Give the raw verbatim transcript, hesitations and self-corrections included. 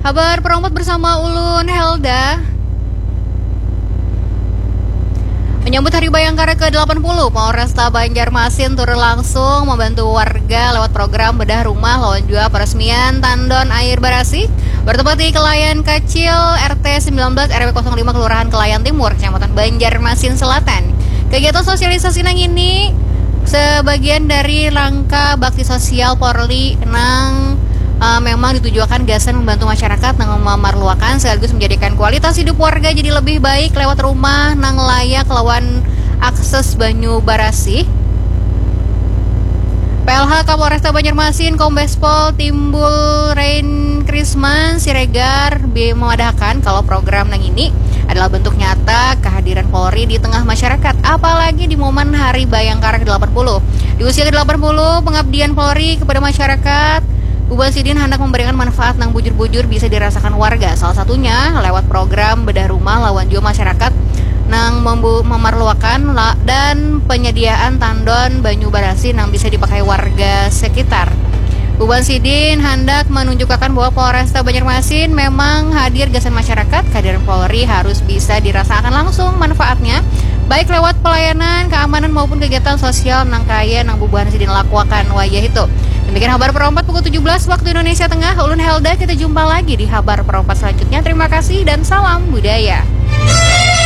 Habar perompat bersama ulun Helda. Menyambut Hari Bayangkara ke delapan puluh, Polresta Banjarmasin turun langsung membantu warga lewat program bedah rumah lawan jua peresmian tandon air barasih bertempat di Kelayan Kecil R T sembilan belas R W kosong lima Kelurahan Kelayan Timur, Kecamatan Banjarmasin Selatan. Kegiatan sosialisasi nang ini sebagian dari langkah bakti sosial Polri nang uh, memang ditujuakan gasan membantu masyarakat nang memerluakan sekaligus menjadikan kualitas hidup warga jadi lebih baik lewat rumah nang layak lawan akses banyu barasih. P L H Kapolresta Banjarmasin Kombes Pol Timbul Rain Krisman Siregar memadahkan kalau program nang ini adalah bentuk nyata kehadiran Polri di tengah masyarakat, apalagi di momen Hari Bayangkara ke delapan puluh. Di usia ke delapan puluh, pengabdian Polri kepada masyarakat, Bubuhan sidin handak memberikan manfaat nang bujur-bujur bisa dirasakan warga, salah satunya lewat program bedah rumah lawan jua masyarakat nang memerluakan dan penyediaan tandon banyu barasih nang bisa dipakai warga sekitar. Bubuhan sidin handak menunjukkan bahwa Polresta Banjarmasin memang hadir gasan masyarakat, kehadiran Polri harus bisa dirasakan langsung manfaatnya, baik lewat pelayanan, keamanan maupun kegiatan sosial nang kaya nang bubuhan sidin lakuakan wayah itu. Demikian habar perompat pukul tujuh belas waktu Indonesia Tengah. Ulun Helda, kita jumpa lagi di habar perompat selanjutnya. Terima kasih dan salam budaya.